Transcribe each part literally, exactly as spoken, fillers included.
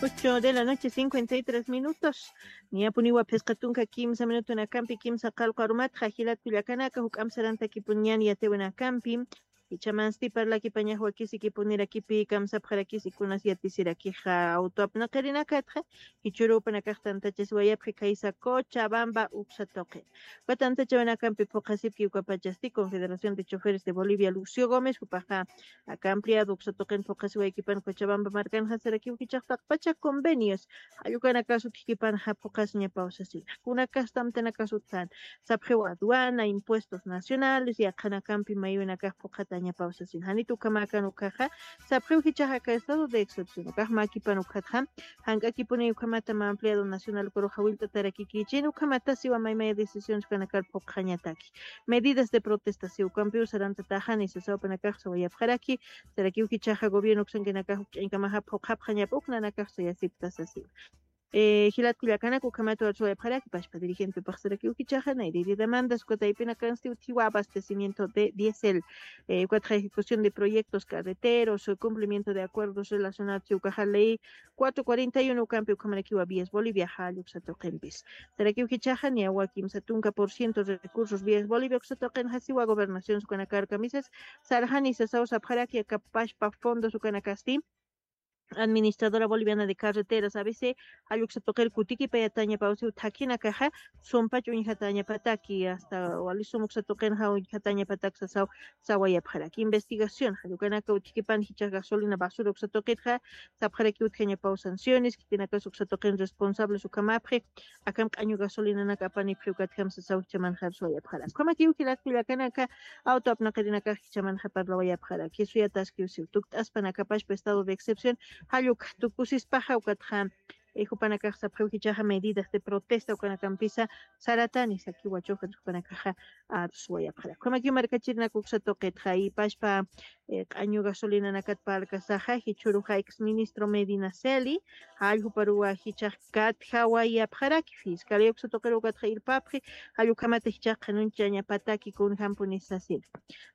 Ocho de la noche, cincuenta y tres minutos. Niyapuniwa phisqa tunka kimsa minutunakampi kimsa qallqu arumatxa jilat kullakanaka, juk'amp sarantakipuniñan yatiwinakampi. Jichhamansti parlakipañax wakisikipunirakipi kamsapxarakis ikunas yatisirakixa awtu apnaqirinakatxa, jichhüruw jupanakax tantachasiwayapxi khaysa Cochabamba uksa tuqin. Uka tantachawinakampi phuqhasipki ukapachasti Confederación de Choferes de Bolivia Lucio Gómez, jupaxa aka ampliado uksa tuqin phuqhasiwaykipan Cochabamba markanxa sarakiw jichhax taqpacha convenios jall ukanakasut jikipanxa phuqhasiñapaw sasina. Kunakasti amtanakasut jan, sapxiw aduana, impuestos nacionales, yaqhanakampi maywinakax phuqhatañapaw sasina. Janit ukhamäkan ukkhaxa, sapxiw jichhax aka estado de excepción ukax mäkipan ukkhatxa, jank'akipuniy ukhamata mä ampliado nacional ukaruxa willt'atarakikichin, ukhamata siwa maymaya decisiones ukanakar phuqhañataki. Medidas de protesta siw ukampiw sarantataxani sasa jupanakax sawayapxaraki, sarakiw jichhaxa gobierno uksankinakax ukch'añkamaxa phuqhapxañapa uk nanakax sayasipta sasiwa. Eh, jilat kullakanaka ukhamat warsawayapxaraki, pachpa dirigentepax sarakiw jichhaxa, nayrïri demandas, uka taypinakansti utjiwa abastecimiento de diésel, eh, ukatxa ejecución de proyectos carreteros, eh, cumplimiento de acuerdos relacionados, ukaxa ley cuatro cuarenta y uno ukampi ukhamarakiwa Vías Bolivia jall uksa tuqimpis. Sarakiw jichhaxa, niyawa kimsa tunka por ciento recursos Vías Bolivia uksa tuqinxa siwa gobernación ukanakar kamisas, sarxani sasaw sapxaraki aka pachpa fondos ukanakasti, Administradora Boliviana de Carreteras, A B C, jall uksa tuqir kutikipayatañapaw siw thakhinakaxa, sumpach uñjatañapataki, hasta wali sum uksa tuqinxa uñjatañapatak sasaw sawayapxaraki. Investigación, jall ukanaka utjikipan jichhax gasolina basura uksa tuqitxa, sapxaraki utjañapaw sanciones, khitinakas uksa tuqin responsables ukhamapxi, akham q'añu gasolinanaka apanipxi ukatjam sasaw jichhamanxa arsawayapxaraki. Ukhamakiw jilat kullakanaka, awtu apnaqirinakax jichhamanxa parlawayapxaraki, suyataskiw siw tukt'aspan aka pachpa estado de excepción, jall ukxa tukusispaxa ukatxa, eh, jupanakax sapxiw jichhaxa medidas de protesta ukanakampisa saratani sakiwa chofer jupanakaxa arsawayapxaraki. Ukhamakiw markachirinaka uksa tuqitxa, y pachpa eh, q'añu gasolinanakat parlkasaxa, jichhüruxa ex ministro Medina Celi, jall juparuwa jichhax katjawayapxaraki, fiscalía uksa tuqiruw ukatxa irpapxi, jall ukhamata jichhax qhanunchañapataki kunjämpunis sasina.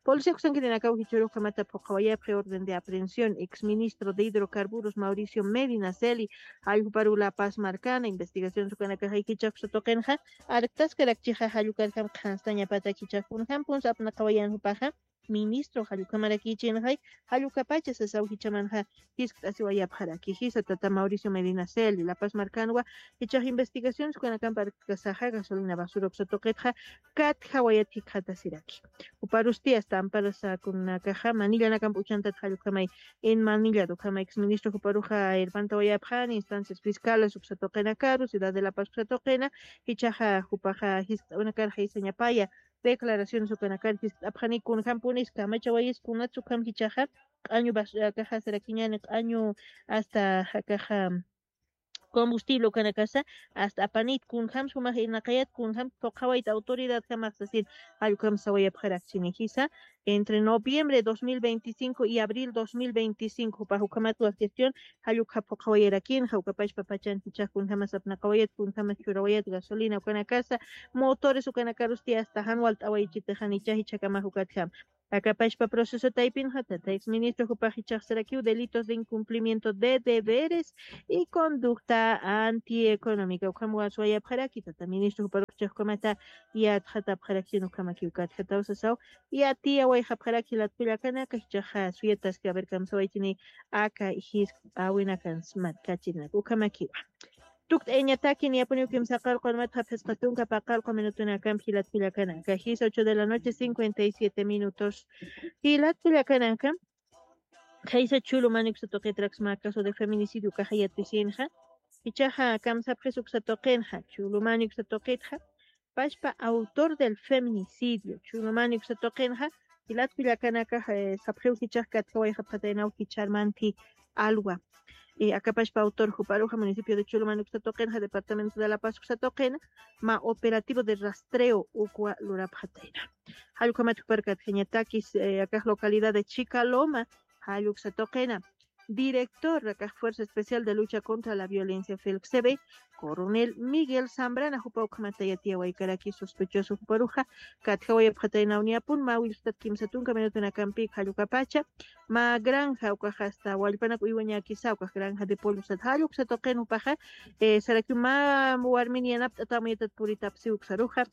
Policía uksankirinakaw jichhüruw ukhamata phuqhawayapxi orden de aprehensión, ex ministro de Hidrocarburos Mauricio Medina Celi, jall juparuw La Paz markana, investigación ukanakaxa jichhax uksa tuqinxa, arktaskarakchixa jall ukarjam qhanstañapataki jichhax kunjämpuns apnaqawayan jupaxa, ministro jall ukhamarakichïnxay, jall ukapacha sasaw jichhamanxa jiskt'asiwayapxaraki. Jisa tata Mauricio Medina Celi, La Paz markanwa, jichhax investigaciones ukanakamp arkkasaxa gasolina basura uksa tuqitxa katjawayat jikxatasiraki. Juparusti hasta amparasakunakaxa manillanakamp uchantat jall ukhamay, en manillad ukhamay ex ministro juparuxa irpantawayapxani instancias fiscales uksa tuqinakaru, ciudad de La Paz uksa tuqina, jichhaxa jupaxa jiskt'awinakarxa isañapaya, declaraciones ukanakar jiskt'apxani kunjämpunis kamachawayis kunats ukham jichhaxa, q'añu bas-, akaxa sarakiñäni q'añu hasta akaxa combustible ukanakasa, hasta apanit kunjämsa jumax irnaqayat kunjämsa phuqhawayta autoridadjamax sasin, jall ukham sawayapxarakchini jisa, entre noviembre dos mil veinticinco y abril dos mil veinticinco, jupax ukhamatwa gestión, jall ukxa phuqhawayarakinxa, uka pachpa pachan jichhax kunjämas apnaqawayat, kunjämas churawayat gasolina ukanakasa, motores ukanakarusti hasta jan walt'awayichitixan jichha jichhakamax ukatjam. Aka pachpa proceso taypinxa, tata ex ministro jupax jichhax sarakiw delitos de incumplimiento de deberes y conducta antieconómica. Ukham waswayapxaraki, tata ministro juparux jichhax ukhamata yatxatapxarakchini, ukhamakiw katjataw sasaw, yatiyawayxapxaraki jilat kullakanaka, jichhaxa suyataski, a ver, kamsawaychini aka jiskt'awinakans markachirinaka, ukhamakiwa. Tukt'ayañataki, niyapuniw kimsa qallqu arumatxa phisqa tunka paqallqu minutunakamp jilat kullakanaka. Jisa ocho de la noche, cincuenta y siete minutos. Jilat kullakanaka, khaysa Chulumani uksa tuqitraksa mä caso de feminicidio ukaxa yatisinxa. Jichhaxa kamsapxis uksa tuqinxa, Chulumani uksa tuqitxa, pachpa autor del feminicidio, Chulumani uksa tuqinxa, jilat kullakanaka, eh, sapxiw jichhax katjawayxapxataynaw jichhar manthi alwa. Eh, aka pachpa autor juparuxa municipio de Chulumani uksa tuqinxa, departamento de La Paz uksa tuqina, mä operativo de rastreo ukwa lurapxatayna. Jall ukhamat jupar katjañatakis, eh, akax localidad de Chicaloma, jall uksa tuqina. director rakax Fuerza Especial de Lucha contra la Violencia, felxebe, coronel Miguel Zambrana, jupa ukhamata yatiyawaykaraki sospechoso juparuxa, katjawayapxataynawniyapun, mä willktat kimsa tunka minutunakampi jallukapacha, mä granja ukaxa hasta wallpanak uywañakisa ukax granja de pollo sat jalluksa tuqin jupaxa, eh, sarakiw mä warmin yanapt'atamuyatat puritapsi uksaruxa,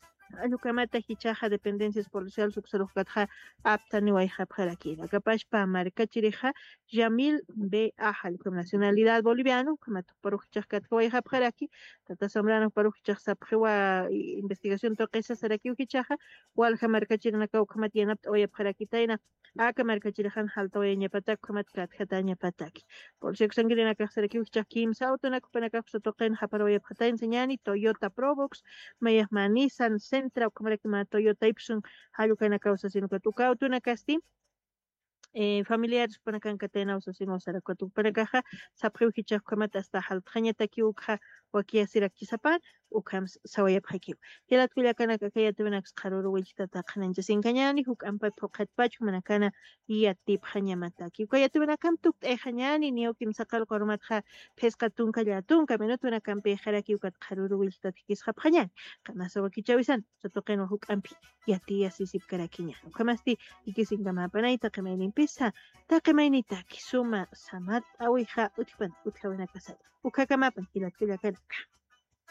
allukamata jichaxa dependencias policiales uksaruxkatxa aptaniwayxapxarakina kapashpa markachirixa Yamil B A, allukham nacionalidad boliviano ukhamata juparuxichax katkawayxapxaraki. Tata Zambrano juparuxichax sapxiwa investigación tuqisa sarakiw jichaxa walja markachirinakaw ukhamata yanapt'awayapxarakitayna. Aka markachirixan jaltawayañapatak ukhamat katjatañapataki. Polisiak sankirinakax sarakiw jichax kimsa awtunakpanakax satuqin japarawayapxatayna sañani Toyota Probox, mayaxma Nissan Sentra ukhamaraki mä Toyota Ipsun, jallukanakaw sasinukat uka awtunakasti, eh, familiares panakankataynaw sasinu sarakat ukpanakaxa sapxiw jichax ukhamat asta jaltxañatakiw ukxa wakiyasirakchisapan. Ukham sawayapxakiw. Jilatkullakanaka kayatuwinaks qharuru willktata qhananchasinkañani juk'ampa phuqhatpach jumanakana yatipxañamataki ukayatuwinakam tukt'ayxañani niyaw kimsaqal q'urumatxa phisqa tunka llatunka minutuwinakampi ixaraki ukat qharuru willktat jikisxapxañani. Qanasa wakichawisan satuqinwa juk'ampi yatiyasisipkarakiñani ukhamasti jikisinkamapanay taqimaynimpisa taqimaynitaki suma samat awixa utjpan utjawinakasata. Ukhakamapan jilatkullakanaka.